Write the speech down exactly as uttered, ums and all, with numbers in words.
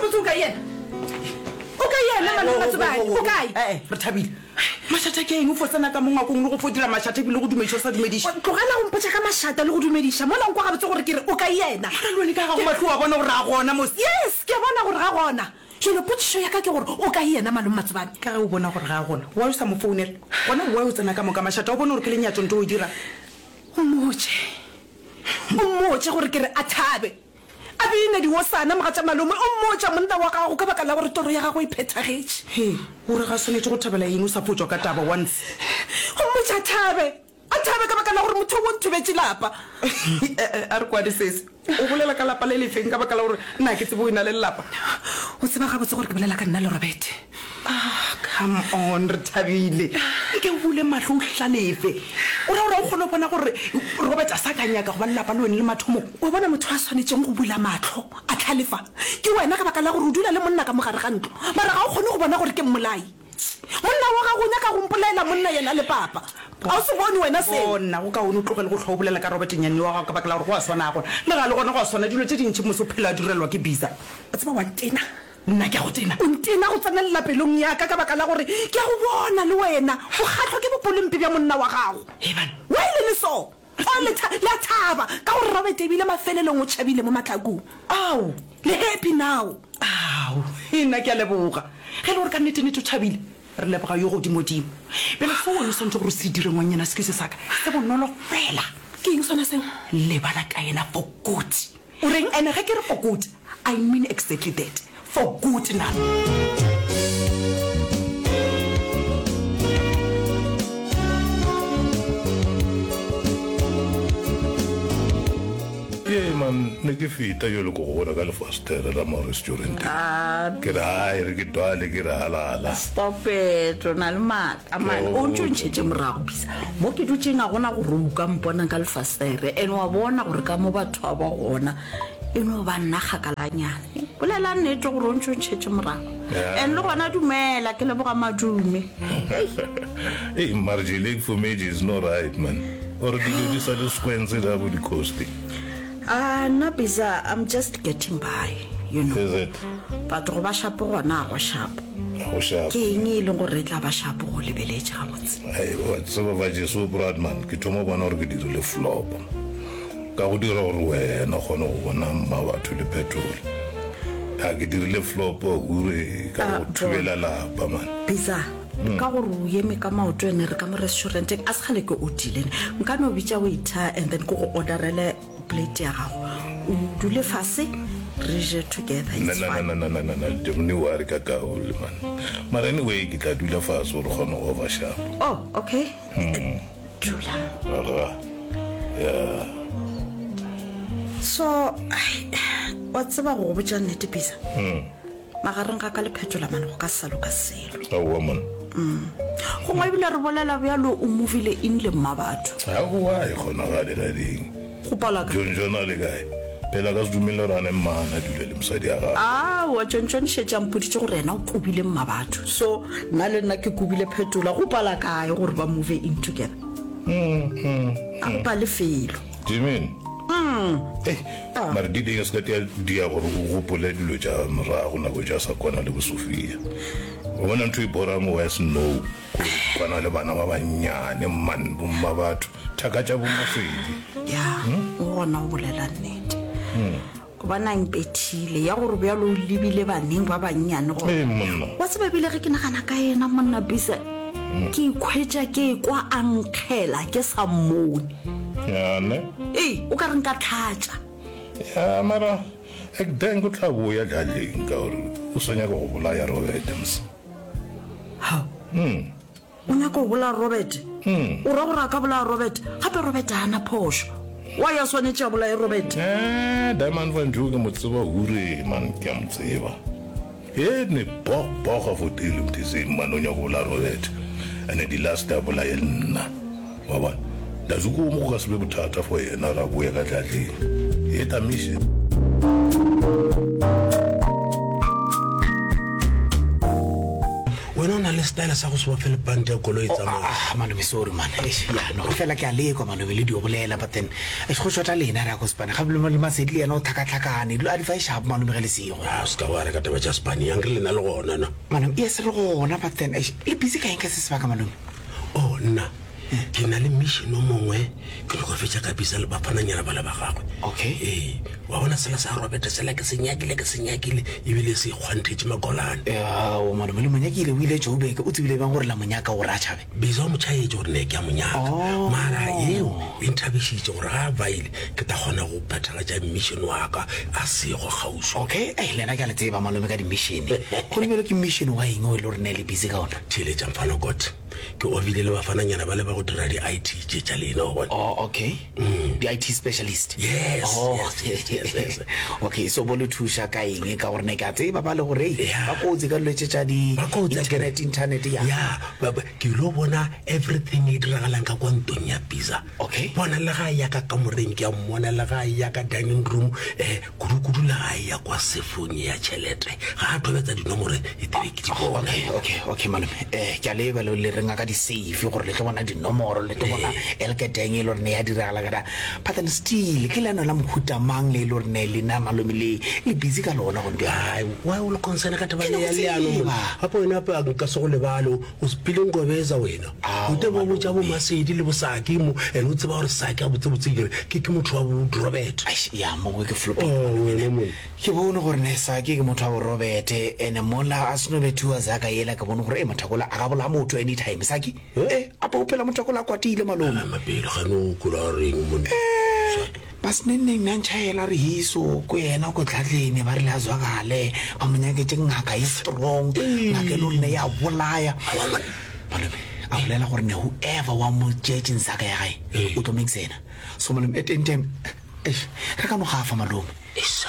Gabotse o kae yena? O kae yena malome Matsobane? O kae? Ee, re thabile. Mašata ke eng? O fo tsena ka mo ngwakong le go fo dira mašata ebile go dumediša o sa dumediše. Tlogela go mpotša ka mašata le go dumediša mola o nkwa gabotse gore ke re o kae yena. Mara le wene ka gago mahlo o a bona gore ga gona mos. Yes, ke a bona gore ga gona. Jwale potšišo ya ka ke gore o kae yena malome Matsobane? Ka ge o bona gore ga a gona, why o sa mo founela? Gona why o tsena ka moka mašata o bone gore ke lenyatšo nto o e dirang? O mmotše, o mmotše gore ke re a thabe, a bine diosana mogatša malome, o mmotša monna wa gago ka baka la gore toro ya gagwe e phethagetše. Hee, o re ga swanetše go thabela eng o sa fo tšwa ka taba once? O mmotše a thabe, a thabe ka baka la gore motho o nthubetše lapa. E-e, a re kwane sesi, o bolela ka lapa le lefeng ka baka la gore nna ke tsebe o e na le lelapa? O tseba gabotse gore ke bolela ka nna le Robert. Ah, come on, re thabile. Nke o bule mahlo o hlalefe. O ra gore ga o kgone go bona gore Robert a sa ka nyaka go ba le lapa le wene le mathomong? Wa bona, motho a swanetšeng go bula mahlo a hlalefa ke wena ka baka la gore o dula le monna ka mo gare ga ntlo, mara ga o kgone go bona gore ke mmolai. Monna wa gago o nyaka go mpolaela monna yena le papa. Ga o se bone wena seo? Bona, go kaone o tlogele go hlwa o bolela ka Robert nyanne wa gago ka baka la gore go a swana a gona. Le ga le gona go a swana, dilo tše dintši mose o phela a direlwa ke Biza. O tseba wa ntena. Nna ke a go tena. O ntena go tsenelela pelong ya ka ka baka la gore ke a go bona le wena o kgahlwa ke bopolompe bja monna wa gago. Hei banna. Why le le so? Oh, le tha, le a thaba ka gore Robert ebile mafelelong o tšhabile mo mahlakong. Ao! Le happy now? Ao, hei nna ke a leboga. Ge e le gore ka nnete-nnete o thabile, re leboga yo Godimodimo. Bjale seo wena o swanetše gore o se dire ngwannyana, excuse sa ka, se bonolo fela. Ke eng sona seo? Lebala ka yena for good. O reng? And ge ke re for good, I mean exactly that. For good now. Ee man, ne ke feta jalo ko go bona ka lefastere la mo restauranteng. Ah. Ke re hai re ke dwale ke re halala. Stop it, o na le maaka man. O ntše o ntšhetše morago bisa. Mo ke dutšeng ga gona gore o ka mpona ka lefastere and wa bona gore ka mo batho ba ba gona e no ba nna kgakalanyana. Bolela nnete gore o ntše o ntšhetše morago. And le gona dumela ke leboga madume. Ei mara Jelek for me is no right man. Or dilo di sa le squence da bo di costi. Ah nna Biza I'm just getting by you know. Is it? But go ba shapo gona ga go shapo. Ga go shapo. Ke eng e leng gore e tla ba shapo go lebeletše gabotse? Hei wa tseba ba Jesu Brad man ke thoma go bona gore ke dirile flop. Ka go dira gore wena o kgone go bona mma batho le petrol. Ha ke dirile flop hure ka go thubela lapa man. Biza ka gore o eme ka maoto ene re ka mo restauranteng a se kgale ke odile ne nka no bitša waiter and then ke go orderele plate ya gago o dule fase re je together Na it's na fine. na na na na na don't worry ka kaole man. Mara anyway ke tla dula fase gore kgone go over sharp. Oh okay dula. Aga yeah. So ai wa tseba go go botša nnete Biza. Magareng ga ka le Phetola mane go ka se sa loka selo. Aowa man. Gongwe ebile re bolela bjalo o movile in le mmabatho. Aowa e kgonagale la ding. Go pala ka. John John a le kae? Phela a ka se dumele gore a ne mmana a dule le mosadi ya gagwe. Aowa John John šetše a mpoditše gore yena o kobile mmabatho. So nna le nna ke kobile Phetola. Go pala kae gore ba move in together? A go pale felo. Do you mean? Ei, mara di ding se ka tia dia gore o gopole dilo tša morago nako tša sa kwana le bo Sophia. O bona ntho e borang worse no ko kwana le bana ba bannyane man bo mma batho thaka tša bo Masedi. Ya, o gona o bolela nnete. Gobane a mpethile ya gore bjalo o lebile baneng ba bannyane gore. Ee monna. Wa tseba ebile ge ke nagana ka yena monna Bisa ke ikhwetša ke ekwa a nkgela ke sa mmone. Ya ne? Ee, o ka re nka tlhatša. Ya mara ek denk o tla boya dlaleng ka gore o sa nyaka go bolaya Robert mos. Hao. O nyaka go bolaya Robert? O ra gore a ka bolaya Robert? Gape Robert ga a na phošo. Why a swanetše a bolaye Robert? Eh, Diamond Van Joe ke mo tseba hure man, ke a mo tseba. He ne bog boga for tele mtheseng man, o nyaka go bolaya Robert. And the last a bolaye le nna. Wa bona? Dazuko mo go ka se be bothata for yena ra boya ka tlatleng. He tamiše. Wena o na le le style sa go se bofele pante ya koloi Oh, tsamaya. ah, malome sorry man Eish, ya no fela ke a lekwa malome le dio bolela but then eish, go shota lena re ya ko spane gape le masedi le yena o tlhakatlhakane dilo a di fa e sharp malome ge le sego Ah, se ka wa reka taba tša spane yang re lena le gona na malome yes re gona but then eish, le busy ka eng ka se sebaka malome oh nna ke na le mission o mongwe ke nyako fetša ka bisa le bafananyana ba le ba gagwe Okay. ee wa bona sela sa robert sela ke se nyakile ke se nyakile ebile se ikgwanthetše makolane ao malome le monyakile o ile joburg o tsebile bang gore la monyaka gore a tšhabe bisa o motšhaetse gore ne ke a monyaka Oh. mara eo e nthabišitše gore ga a baile ke ta kgona go phethagatša mission wa ka a sego kgauswi okay ei lena ke a le tseba malome ka di-mission go lebelo ke mission wa eng o e le gore ne le busy ka ona theeletša mfana kot ke obile le bafananyana ba le ba go dira di-i t tše tša lena wa bona oh okay di-i t specialist Yes, oh. yes, yes, yes, yes. okay so bo le thuša ka eng ka gore ne ke a tseba ba le gore ei, Yeah. ba kotsi ka dilo tše tša Ba kotsi, di-internet akere. internet ya ya ba- ba- ke ilo bona everything e diragalang ka kwa ntong ya bisa Okay. bona le ga ya ka kamoreng ke a mmona le ga ya ka dining room um kudu-kudu le ga ya kwa sefong ya tšhelete ga a tobetsa dinomore e tebe ke di bona okay okay okay malome um ke a leba le le renga ka di-safe gore le tlo bona dinomoro le tlo bona elketeng e le gore ne ya diragala kada but then still ke leano la mohuta mang le e le gore ne lena malome le le busy ka lona gone bjale ai why o le concern ka taba Ke ya no leano tseba. monna gape wena ape nka se go lebale o sepile nkobetsa wena Ao, o te bo botša bo masedi le bosaki mo and o tseba gore saki a botsebotse kere ke ke motho wa bo robert Eish, ya mongwe ke floppy Oh, wena monna ke bone gore ne sake ke motho wa borobete and mola a seno bethiwa zaka yela ke bone gore e mothakola a ka bolaya motho anytime sake e apa o phela mothakola a kwatile malome mapele gane o kola reng monna Saki. basenenneng na ntšhaela re hiso ko yena ko tlhatlene ba rile a zwakale ba mo nyaketse ngaka e strong ngaka e le gore ne ya bolaya malome a bolela gore ne whoever wa mo tšeetseng saka ya gae o tlo make sena so malome at any time eish, re ka no gafa malome Esa.